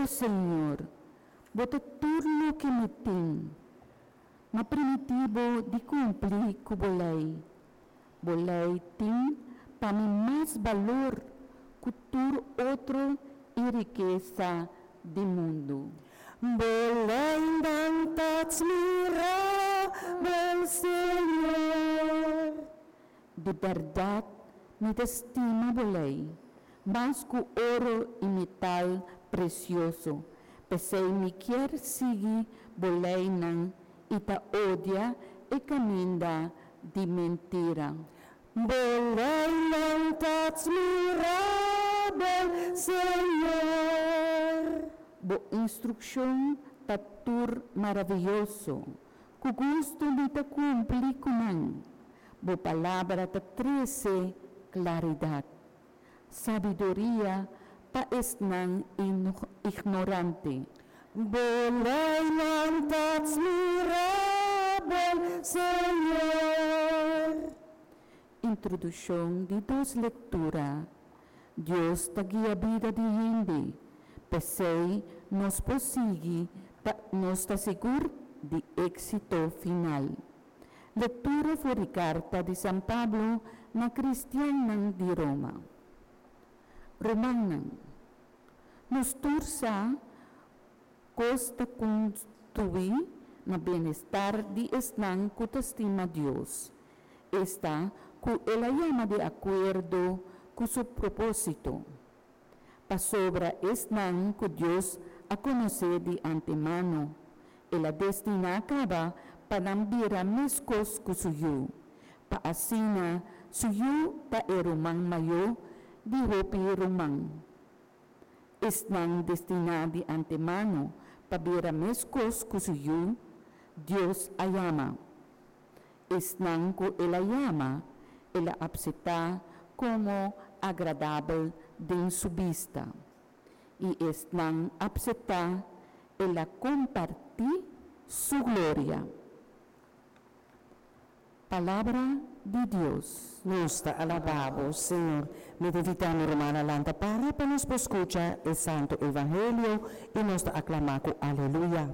O Señor, Bo ta tur loke mi tin. M'a primintí Bo di kumpli ku bo lei. Bo lei tin pa mi mas balor ku tur otro i rikesa di mundu. Bo leinan ta atmirabel, Señor. Di bèrdat mi ta stima bo lei, mas ku oro i metal presioso. P'esei mi kier sigui bo leinan i ta odia e kaminda di mentira. Bo leinan ta atmirabel, Señor. Bo instrukshon ta tur maravioso, ku gustu mi ta kumpli ku nan. Bo palabra ta trese klaridat, sabiduria pa esnan ignorante. Bo leinan ta atmirabel, Señor. Introdukshon di dos lektura. Dios ta guia bida di hende, p'esei nos por sigui ta nos ta sigur di éksito final. Lektura for di karta di San Pablo na kristiannan di Roma. Rumannan, nos tur sa kos ta kontribuí na bienestar di esnan ku ta stima Dios, esta ku el a yama di akuerdo ku su propósito. Pasobra esnan ku Dios a konosé di antemano, el a destiná kaba pa nan bira meskos ku su Yu, pa asina su Yu ta e ruman mayó di hopi ruman. Esnan destiná di antemano pa bira meskos ku su Yu, Dios a yama. Esnan ku el a yama, el a aseptá komo agradabel den su bista. I esnan aseptá, el a kompartí su gloria. Palabra di Dios. Nos ta alabá bo, Señor. Mi ta invitá mi rumannan lanta para pa nos por skucha e Santu Evangelio i nos ta aklamá ku Aleluya.